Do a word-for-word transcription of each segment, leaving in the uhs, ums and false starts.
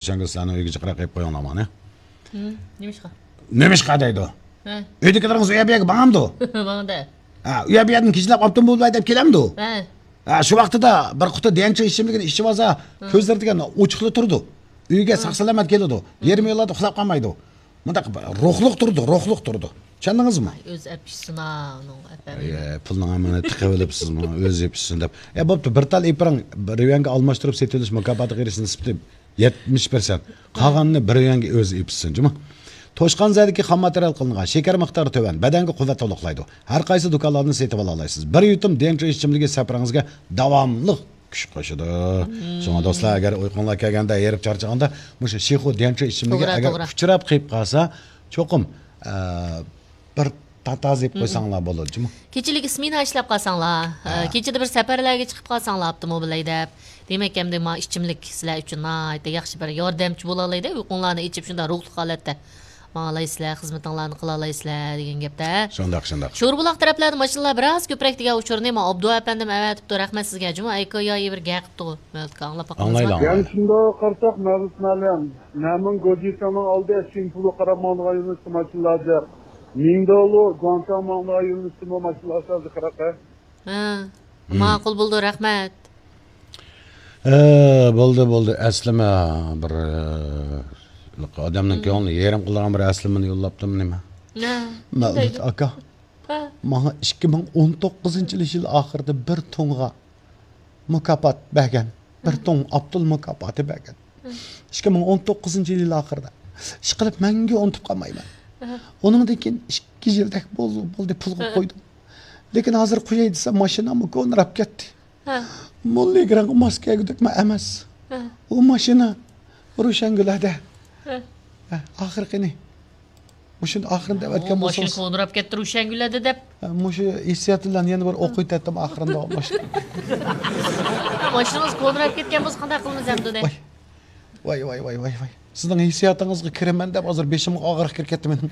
روشەنگۈل سىلەرنىڭ ئۆيگە جىقراق ئېلىپ قويۇڭلار ماڭا. ھىم، نېمىشقا؟ نېمىشقا دەيدۇ؟ ھە. ئۆيدىكىلىرىڭىز ئۇ يەر بۇ يەرگە ماڭامدۇ؟ ماڭىدۇ. ھە، ئۇ يەر بۇ يەردىن كېچىلەپ ئاپتوموبىل ھەيدەپ كېلەمدۇ؟ ھە. ھە، شۇ ۋاقتىدا بىر قۇتا ديەنچۇ ئىچىملىكىنى ئىچىۋالسا، ھە، كۆزلىرى دېگەن ئوچۇقلا تۇرىدۇ. ئۆيگە، ھە، ساق-سالامەت كېلىدۇ. ھە. يېرىم يوللاردا ئۇخلاپ قالمايدۇ. مۇنداق روھلۇق تۇرىدۇ، روھلۇق تۇرىدۇ. چۈشەندىڭىزمۇ؟ ئۆزى ئەپ ئىچسىنا، ئۇنىڭ ئەپ بەرمەيدۇ. ئە، پۇلنىڭ ھەممىنى تىقىۋېلىپسىزمۇ؟ ئۆزى ئېپ ئىچسۇن دەپ. ئە، بوپتۇ، بىر تال ئېپىرىڭ، بىر يۈەنگە ئالماشتۇرۇپ سېتىۋېلىش مۇكاپاتىغا ئېرىشىش نېسىپى يەتمىش پىرسەنت. قالغاننى بىر يۈەنگە ئۆزى ئېپ ئىچسۇن، جۇمۇ. توشقان زەدىكى خام ماتېرىيال قىلىنغان، شېكەر مىقدارى تۆۋەن، بەدەنگە قۇۋۋەت تولۇقلايدۇ. ھەر قايسى دۇكانلاردىن سېتىۋالالايسىز. بىر يۇتۇم ديەنچۇ ئىچىملىكى سەپىرىڭىزگە داۋاملىق كۈچ قوشىدۇ. شۇڭا دوستلار، ئەگەر ئۇيقۇڭلار كەلگەندە، ھېرىپ چارچىغاندا، مۇشۇ شىخۇ ديەنچۇ ئىچىملىكى توغرا، ئەگەر توغرا. ئۇچراپ قېلىپ قالسا، چوقۇم، ئە، بىر تاتازا يەپ قويساڭلار بولىدۇ، جۇمۇ. كېچىلىك سمېنا ئىشلەپ قالساڭلار، ئە، ھە، كېچىدە بىر سەپەرلەرگە چىقىپ قالساڭلار ئاپتوموبىل ھەيدەپ، دېمەك، ئەمدى ما ئىچىملىك سىلەر ئۈچۈن ناھايىتى ياخشى بىر ياردەمچى بولالايدۇ. ئۇيقۇڭلارنى ئېچىپ، شۇنداق روھلۇق ھالەتتە ماڭالايسىلەر، خىزمىتىڭلارنى قىلالايسىلەر دېگەن گەپتە. شۇنداق، شۇنداق. شوربۇلاق تەرەپلەردە ماشىنىلار بىراز كۆپرەك دېگەن ئۇچۇرنى ما ئابدۇ ئەپەندىم ئەۋەتىپتۇ. رەھمەت سىزگە. جۇمۇ ئەيكويا بىر گەپ قىپتىغۇ. مەۋلۇتكا ئاڭلاپ باققىنىڭىزمۇ؟ ئاڭلايلى، ئاڭلايلى. يەنە شۇنداق قارىساق، مەۋلۇت مەلەم، نەمىڭ گوجىسىڭنىڭ ئالدى شىنفۇلغا قاراپ ماڭىدىغان يۆنىلىشتە ماشىنىلار جىق. مىڭداۋلۇ، گۇاڭتاڭ ماڭىدىغان يۆنىلىشتىمۇ ماشىنىلار ئاساسىي قاراقە. ھە، ماقۇل بولدى، رەھمەت. ئە، بولدى، بولدى. ئەسلىمە بىر، ئە، ئادەمنىڭ كۆڭلىنى يېرىم قىلىدىغان بىر ئەسلىمىنى يوللاپتىمۇ نېمە؟ ھە، مەۋلۇت ئاكا، ھە، ماڭا ئىككى مىڭ ئون توققۇزىنچى يىل ئاخىرىدا بىر توڭغا مۇكاپات بەرگەن. بىر توڭ ئابدۇل مۇكاپاتى بەرگەن. ئىككى مىڭ ئون توققۇزىنچى يىل ئاخىرىدا. ئىشقىلىپ مەڭگۈ ئۇنتۇپ قالمايمەن. ئۇنىڭدىن كېيىن ئىككى يىلدەك بول-، بولدى پۇلغا قويدۇم. لېكىن ھازىر قوياي دېسەم، ماشىناممۇ كونىراپ كەتتى. موللىگرانغا ماس كەلگۈدەكمۇ ئەمەس. ئۇ ماشىنا روشەنگۈلەردە. ئاخىرقىنى. مۇشۇنى ئاخىرىنى دەۋەتكەن بولسىڭىز. ماشىنا كونىراپ كەتتى روشەنگۈلەردە دەپ. مۇشۇ ھېسسىيات بىلەن يەنە بىر ئوقۇيتەتتىم ئاخىرىنى داۋاملاشتۇرۇپ. ماشىنىڭىز كونىراپ كەتكەن بولسا قانداق قىلىمىز ئەمدى ئۇنى؟ ۋاي، ۋاي، ۋاي، ۋاي، ۋاي. سىزنىڭ ھېسسىياتىڭىزغا كىرىمەن دەپ ھازىر بېشىمغا ئاغرىق كىرىپ كەتتى مېنىڭ.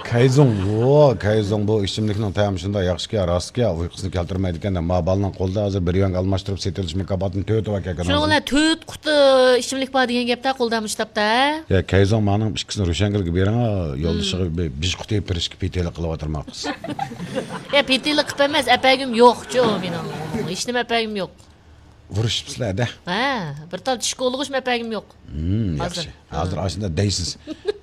كەيزۇڭ، ۋو، كەيزۇڭ، بۇ ئىچىملىكنىڭ تەمى شۇنداق ياخشىكەن، راستكەن، ئۇيقۇسىنى كەلتۈرمەيدىكەن. ما بالىنىڭ قولىدا ھازىر بىر يۈەنگە ئالماشتۇرۇپ سېتىۋېلىش مۇكاپاتىنى تۆت ۋاكا شۇنىڭ بىلەن تۆت قۇتا ئىچىملىك بار دېگەن گەپتە، قولدا مۇشتاپتا. يا، كەيزۇڭ، مانىڭ ئىككىسىنى روشەنگۈلگە بېرىڭ، يولدىشىغا بىر بىژ قۇتى پىرىشكە پېتىلىق قىلىۋاتىرما قىز. يا، پېتىلىق قىلىپ ئەمەس، ئەپەگۈم يوقچۇ مېنىڭ. ھېچنېمە ئەپەگۈم يوق. ئۇرۇشۇپسىلەر-دە. ھە، بىر تال چىشكا ئۇلىغۇچمۇ ئەپەرگۈم يوق. ھىم، ياخشى. ھازىر. ھازىر ئاشۇنداق دەيسىز.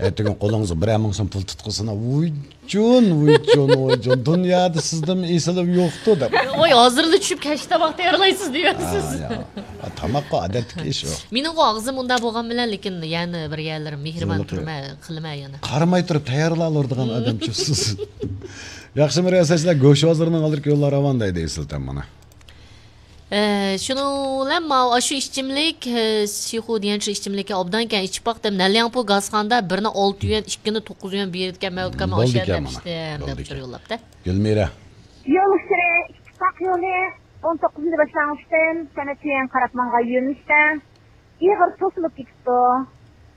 ئەتىگۈن قولىڭىزغا بىرەر مىڭ سوم پۇل تۇتقىسىنا، ۋۇيجۇن، ۋۇيجۇن، ۋۇيجۇن، دۇنيادا سىزدىنمۇ ئېسىلىم يوقتۇ دەپ. ۋاي، ھازىرلا چۈشۈپ كەچتە تاماق تەييارلايسىز دېيەرسىز. ھا، يا. ھا، تاماققۇ ئادەتتىكى ئىش ئۇ. مېنىڭغۇ ئاغزىم ئۇنداق بولغان بىلەن، لېكىن يەنە بىر يەرلىرىم مېھرىبان تۈرمە قىلىمەن يەنە. قارىماي تۇرۇپ تەييارلاۋېرىدىغان ئادەمچۇ سىز. ياخشىمۇ رىياسەتچىلەر، گۆش ھازىرنىڭ ئالدىدىكى يوللار راۋان دەيدۇ ئېسىل تەم مانا. ئە، شۇنىڭ بىلەن ماۋۇ ئاشۇ ئىچىملىك، ئە، شىخۇ دېگەن شۇ ئىچىملىككە ئوبدانكەن ئىچىپ باقتىم. نەنلياڭپۇ گازخانىدا بىرنى ئالتە يۈەن، ئىككىنى توققۇز يۈەن بېرىدىكەن، مەۋلۇت ئاكا، مانا ئاشۇ يەردە ئەپىشتىم دەپ ئۇچۇر يوللاپتۇ. گۈلمىرە. يول ئۇچۇرى ئىتتىپاق يولى ئون توققۇزىنچى باشلانغۇچتىن سەنئەت يۈەن قاراپ ماڭغان يۆنىلىشتە ئېغىر توسۇلۇپ كېتىپتۇ.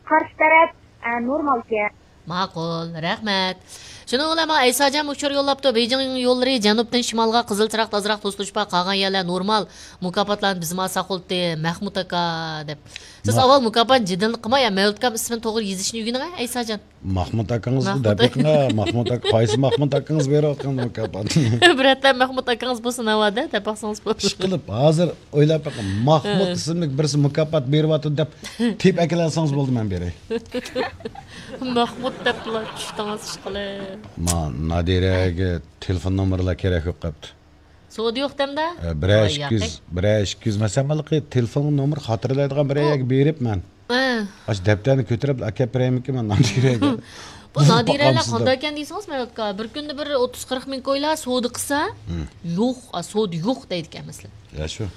قارشى تەرەپ، ئە، نورمالكەن. ماقۇل، رەھمەت. شۇنىڭ بىلەن ماڭا ئەيساجان ئۇچۇر يوللاپتۇ. بېيجىڭ يوللىرى جەنۇبتىن شىمالغا قىزىل چىراغدا ئازراق توسۇلۇش بار، قالغان يەرلەر نورمال. مۇكاپاتلارنى بىزمۇ ئالساق بولدى، مەھمۇت ئاكا دەپ. سىز ئاۋۋال مۇكاپاتنى جېدەللىك قىلماي، مەۋلۇت ئاكام ئىسمىنى توغرا يېزىشنى ئۆگىنىڭ، ھە، ئەيساجان. مەھمۇت ئاكىڭىزغا دەپ بېقىڭ، ھە، مەھمۇت ئاكا، قايسى مەھمۇت ئاكىڭىز بېرىۋاتقان مۇكاپاتنى؟ بىرەتلەر مەھمۇت ئاكىڭىز بولسا ناۋادا دەپ باقسىڭىز بولىدۇ. ئىشقىلىپ، ھازىر ئويلاپ بېقىڭ، مەھمۇت ئىسىملىك بىرسى مۇكاپات بېرىۋاتىدۇ دەپ تېپىپ ئەكېلەلىسىڭىز بولدى، مەن بېرەي. مەھمۇت دەپلا چۈشتىڭىز ئىشقىلىپ. ما نادىرەگە تېلېفون نومۇرلار كېرەك يوق قاپتۇ. سودا يوق دەمدە؟ ئە، بىرەر ئىككى يۈز، بىرەر ئىككى يۈز، مەسىلەن، مانا تېلېفون نومۇر خاتىرىلەيدىغان بىرەر يەرگە بېرىپ مەن. ئاشۇ دەپتەرنى كۆتۈرۈپ ئەكەپ بېرەيمىكىن مەن نادىرەگە؟ بۇ نادىرەلەر قانداقكەن دېسىڭىز، مەۋلۇت ئاكا، بىر كۈندە بىر ئوتتۇز قىرىق مىڭ كويلا سودا قىلسا، يوق، ئا، سودا يوق دەيدىكەن مەسىلەن. يا، شۇ.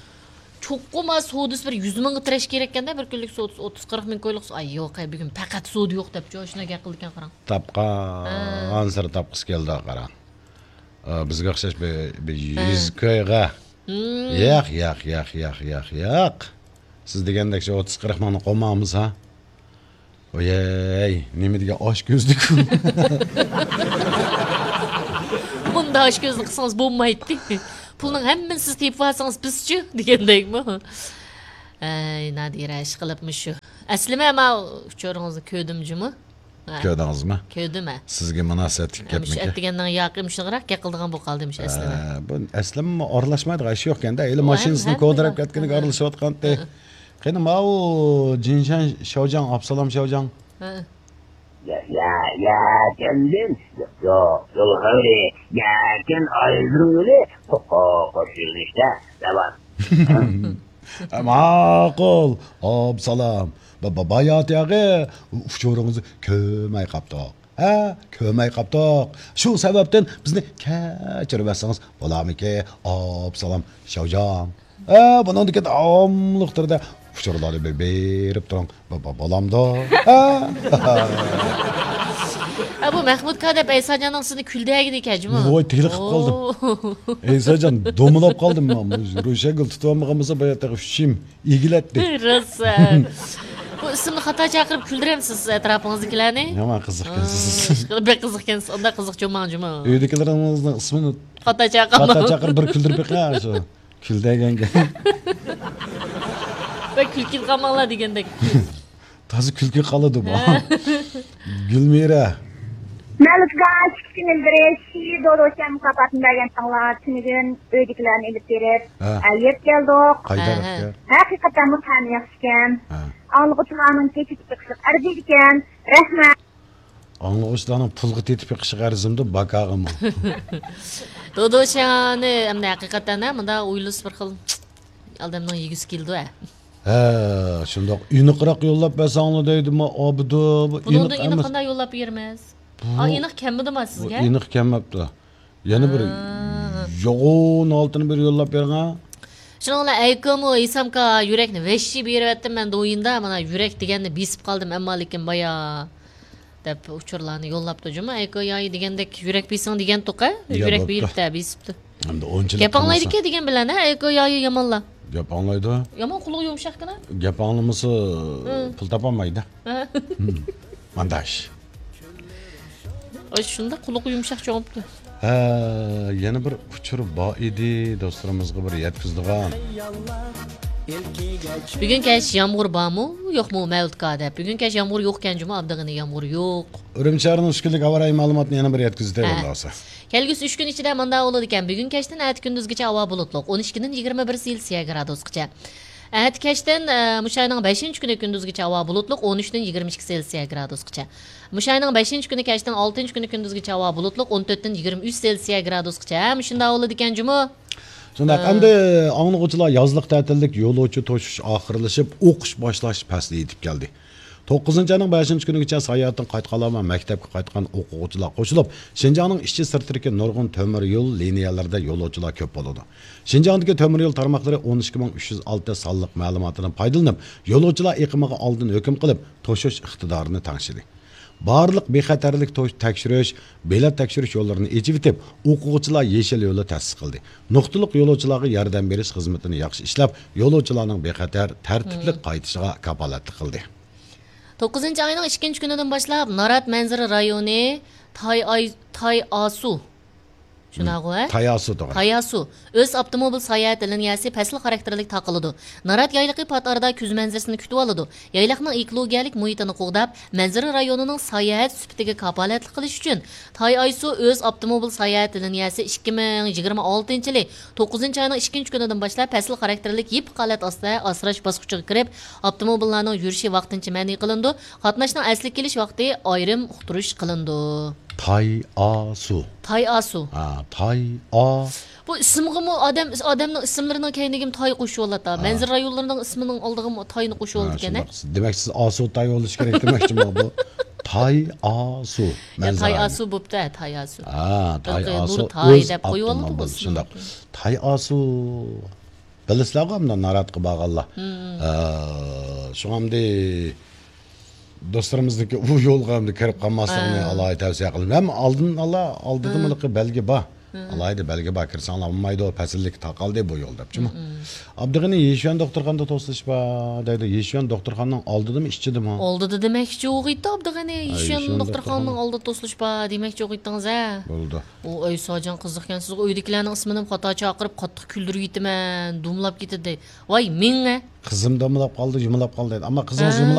چوقۇم، ئا، سودىسى بىر يۈز مىڭغا تىرەش كېرەككەندە، بىر كۈنلۈك سودىسى ئوتتۇز قىرىق مىڭ كويلۇق. ئاي، يوق، ئاي، بۈگۈن پەقەت سودا يوق دەپچۇ، ئاشۇنداق گەپ قىلىدىكەن، قاراڭ. تاپقانسېرى تاپقۇسى كەلدى، قاراڭ. ئا، بىزگە ئوخشاش بىر، بىر يۈز كويغا. ياق، ياق، ياق، ياق، ياق، ياق. سىز دېگەندەك شۇ ئوتتۇز قىرىق مىڭنى قومامىز، ھا؟ ۋاي، نېمە دېگەن ئاچ كۆزلۈك. بۇنداق ئاچ كۆزلۈك قىلسىڭىز بولمايتتى. پۇلنىڭ ھەممىنى سىز تېپىۋالسىڭىز بىزچۇ دېگەندەكمۇ. ئەي، نادىرە، ئىشقىلىپ مۇشۇ. ئەسلىمە ما ئۇچۇرىڭىزنى كۆردۈم جۇمۇ. ھە. كۆردىڭىزمۇ؟ كۆردۈم، ھە. سىزگە مۇناسىۋەتلىك ھە، مۇشۇ گەپمىكەن؟ ئەتىگەننىڭ ياقى مۇشۇنىڭراق گەپ قىلىدىغان بولۇپ قالدى مۇشۇ ئەسلىمە. ھە، بۇ ئەسلىمە ئارىلاشمايدىغان ئىش يوق ئەكەندە. ھېلى ئۇ ھەم-، ماشىنىسىنى ھەممە كودىراپ بار. كەتكىنىگە ھە. ئارىلىشىۋاتقانتى. ھە. قېنى، ماۋۇ جىنشەن شاۋجاڭ، ئابسالام شاۋجاڭ. ھە. يا، يا، يا، كەلدىم. يو-، يو-، يول خەۋىرى. يەكەن ئايدۇرۇلى. قو-، قو-، قوش يۆنىلىشتە داۋام. ماقۇل، ئابسالام. با-، با-، باياتىياغى ئۇچۇرىڭىزنى كۆرمەي قاپتۇق. ھە، كۆرمەي قاپتۇق. شۇ سەۋەبتىن بىزنى كەچۈرۈۋەتسىڭىز بولارمىكى، ئابسالام شاۋجاڭ؟ ھە، بۇنىڭدىكى داۋاملىق تۈردە ئۇچۇرلارنى بېرىپ تۇرۇڭ. بۇ، بۇ، بولامدۇ؟ ھە؟ ھە، بۇ مەھمۇد كا دەپ ئەيساجاننىڭ سىزنى كۈلدەگىنى ئىكەن جۇمۇ. ۋاي، تېلىقىپ قالدىم. ئو. ئەيساجان، دومىلاپ قالدىم. روشەنگۈل تۇتۇۋالمىغان بولسا، بايا تېخى ئۈچ يىم ئېگىلەتتى. روسا. بۇ ئىسىمنى خاتا چاقىرىپ كۈلدۈرەمسىز ئەتراپىڭىزدىكىلەرنى؟ يامان قىزىقكەنسىز. ئىشقىلىپ بەك قىزىقكەنسىز. ئۇنداق قىزىق چوماڭ جۇمۇ. ئۆيدىكىلىرىڭىزنىڭ ئىسمىنى خاتا چاقىرىپ. خاتا چاقىرىپ بىر كۈلدۈرۈپ بېقىڭ شۇ. كۈلدەگەنگە. بەك كۈلكىگە قالماڭلار دېگەندەك. تازا كۈلكىگە قالىدۇ بۇ. ھە. گۈلمىرە. مەلۇكا ئىككى كۈن ئىلگىرى شى دودوچيان مۇكاپاتىنى بەرگەنتىڭلار. تۈنۈگۈن ئۆيدىكىلەرنى ئېلىپ بېرىپ، ھە. ئە، يەپ كەلدۇق. قايتۇرۇپ ھە، ھە. كەل. ھەقىقەتەنمۇ تەمى ياخشىكەن. ھە. ئاڭلىغۇچىلارنىڭ كېچىكىپ بېقىشىغا ئەرزىيدىكەن. رەھمەت. ئاڭلىغۇچىلارنىڭ پۇلغا تېتىپ بېقىشىغا ئەرزىمدۇ، باكاغىمۇ؟ دودوچياننى ئەمدى ھەقىقەتەن ھە، مۇنداق ئويلىسا بىر خىل ئادەمنىڭ يېگۈسى كېلىدۇ ھە. ھە، شۇنداق. ئېنىقراق يوللاپ بەرسەڭلار دەيدىما، ئابىدۇ. بۇ بۇنىڭدىن ئېنىق ئېنىق ئەمەس. قانداق يوللاپ بېرىمىز؟ بۇ، ئا، ئېنىق كەلمىدىما بۇ سىزگە؟ ئېنىق كەلمەپتۇ. يەنە بىر ھا. يوغان ھالىتىنى بىر يوللاپ بېرىڭە. شۇنىڭ بىلەن ئەيكۆمۇ ھېسامكا يۈرەكنى ۋەھشىي بېرىۋەتتىم مەن دويىندا، مانا يۈرەك دېگەننى بېسىپ قالدىم، ئەمما لېكىن بايا دەپ ئۇچۇرلارنى يوللاپتۇ جۇمۇ. ئەيكۆ يايى دېگەندەك يۈرەك بېسىڭ دېگەنتۇق ھە؟ يا، يۈرەك بوپتۇ. بېرىپتە، بېسىپتۇ. ئەمدى ئۇنچىلىك گەپ ئاڭلايدىكەن دېگەن بىلەن ھە، ئەيكۆ يايى يامانلا. گەپ ئاڭلايدۇ. يامان قۇلىقى يۇمشاقكىنا. گەپ ئاڭلىمىسا ھە. پۇل تاپالمايدۇ. ھە. ھىم. مانداش. ئاي، شۇنداق قۇلىقى يۇمشاق چوڭۇپتۇ. ھە، يەنە بىر ئۇچۇر بار ئىدى، دوستلىرىمىزغا بىر يەتكۈزىدىغان. بۈگۈن كەچ يامغۇر بارمۇ، يوقمۇ، مەۋلۇتكا دەپ. بۈگۈن كەچ يامغۇر يوقكەن جۇمۇ، ئابدىغېنى يامغۇر يوق. ئۈرۈمچى شەھىرىنىڭ ئۈچ كۈنلۈك ھاۋا رايى مەلۇماتىنى يەنە بىر يەتكۈزدى، ھە. بولدى بولسا. كەلگۈسى ئۈچ كۈن ئىچىدە مۇنداق بولىدىكەن، بۈگۈن كەچتىن ئەتە كۈندۈزگىچە ھاۋا بۇلۇتلۇق، ئون ئىككىدىن يىگىرمە بىر سېلسىيە گرادۇسقىچە. ئەتە كەچتىن، ئە، مۇشۇ ئاينىڭ بەشىنچى كۈنى كۈندۈزگىچە ھاۋا بۇلۇتلۇق، ئون ئۈچتىن يىگىرمە ئىككى سېلسىيە گرادۇسقىچە. مۇشۇ ئاينىڭ بەشىنچى كۈنى كەچتىن ئالتىنچى كۈنى كۈندۈزگىچە ھاۋا بۇلۇتلۇق، ئون تۆتتىن يىگىرمە ئۈچ سېلسىيە گرادۇسقىچە. ھە، مۇشۇنداق بولىدىكەن جۇمۇ. شۇنداق، ھە. ئەمدى ئاڭلىغۇچىلار يازلىق تەتىللىك يولۇچى توشۇش ئاخىرلىشىپ، ئوقۇش باشلاش پەسلى يېتىپ كەلدى. توققۇزىنچى ئاينىڭ بەشىنچى كۈنىگىچە ساياھەتتىن قايتقانلار ۋە مەكتەپكە قايتقان ئوقۇغۇچىلار قوشۇلۇپ، شىنجاڭنىڭ ئىچى سىرتىدىكى نۇرغۇن تۆمۈر يول لىنىيەلىرىدە يولۇچىلار كۆپ بولىدۇ. شىنجاڭدىكى تۆمۈر يول تارماقلىرى ئون ئىككى مىڭ ئۈچ يۈز ئالتە سانلىق مەلۇماتىدىن پايدىلىنىپ، يولۇچىلار ئېقىمىغا ئالدىن ھۆكۈم قىلىپ، توشۇش ئىقتىدارىنى تەڭشىدى. بارلىق بىخەتەرلىك توش-، تەكشۈرۈش، بېلەت تەكشۈرۈش يوللىرىنى ئېچىۋېتىپ، ئوقۇغۇچىلار يېشىل يولى تەسىس قىلدى. نۇقتىلىق يولۇچىلارغا ياردەم بېرىش خىزمىتىنى ياخشى ئىشلەپ، يولۇچىلارنىڭ بىخەتەر، تەرتىپلىك مم. قايتىشىغا كاپالەتلىك قىلدى. توققۇزىنچى ئاينىڭ ئىككىنچى كۈنىدىن باشلاپ، نارات مەنزىرە رايونى تاي ئاي-، تاي ئاسۇ، شۇنداقغۇ، ھە؟ تاياسۇ تۇغان. تاياسۇ ئۆز ئاپتوموبىل ساياھەت لىنىيەسى پەسىل خاراكتېرلىك تارقىلىدۇ. نارات يايلىقى پات ئارىدا كۈز مەنزىرىسىنى كۈتۈۋالىدۇ. يايلاقنىڭ ئېكولوگىيەلىك مۇھىتىنى قوغداپ، مەنزىرە رايونىنىڭ ساياھەت سۈپىتىگە كاپالەتلىك قىلىش ئۈچۈن، تايئايسۇ ئۆز ئاپتوموبىل ساياھەت لىنىيەسى ئىككى مىڭ يىگىرمە ئالتىنچى يىلى توققۇزىنچى ئاينىڭ ئىككىنچى كۈنىدىن باشلاپ پەسىل خاراكتېرلىك يېپىق ھالەت ئاستىدا ئاسراش باسقۇچىغا كىرىپ، ئاپتوموبىللارنىڭ يۈرۈشى ۋاقتىنچە مەنئى قىلىنىدۇ. قاتناشنىڭ ئەسلىگە كېلىش ۋاقتى ئايرىم ئۇقتۇرۇش قىلىنىدۇ. تايئاسۇ. تايئاسۇ. ھە، تايئا. بۇ ئىسىمغىمۇ ئادەم، ئادەمنىڭ ئىسىملىرىنىڭ كەينىگىمۇ تاي قوشۇۋالىدۇ. ھە. مەنزىرە رايونلىرىنىڭ ئىسمىنىڭ ئالدىغىمۇ تاينى ھە، قوشۇۋالىدىكەن، ھە؟ شۇنداق. دېمەك، سىز ئاسۇ تاي بولۇشى كېرەك دېمەكچىمۇ بۇ؟ تايئاسۇ. يا، مەنزىرە تايئاسۇ بوپتۇ، ھە، تايئاسۇ. ھە، بىلقى تايئاسۇ نۇر تاي ئۆز دەپ قويۇۋالدىمۇ ئاپتوموبىل، ئىسمىنى؟ شۇنداق. تايئاسۇ. بىلىسىلەرغۇ ئەمدى ناراتقا بارغانلار. مم. ئە، شۇڭا ئەمدى دوستلىرىمىزنىڭكى ئۇ يولغا ئەمدى كىرىپ قالماسلىقىنى ھە. ئالاھىدە تەۋسىيە قىلىمەن. ھەم ئالدىن ئالا، ئالدىدا ھە. مۇنىقى بەلگە بار. ئالاھىدە بەلگە بار، كىرسەڭلار ئۇنىمايدۇ، پەسىللىك تاقالدى بۇ يول دەپچىمۇ. ئابدۇغېنى، يىشۈەن دوختۇرخانىدا توسۇلۇش بار دەيدۇ. يىشۈەن دوختۇرخانىنىڭ ئالدىدىمۇ، ئىچىدىمۇ؟ ئالدىدا دېمەكچى ئوغۇيتتى ئابدۇغېنى. يىشۈەن يىشۈەن دوختۇرخانىنىڭ دوختۇرخانا. ئالدىدا توسۇلۇش بار دېمەكچى ئوغۇيتتىڭىز ھە. بولدى. ئۇ ئۆي ساجان قىزىقكەنسىزغۇ، ئۆيدىكىلەرنىڭ ئىسمىنىمۇ خاتا چاقىرىپ قاتتىق كۈلدۈرۈۋېتىمەن، دومىلاپ كېتىدۇ. ۋاي مېڭە. قىزىم دومىلاپ قالدى، يۇمىلاپ قالدى دەيدۇ. ئەمما قىزىڭىز ھە.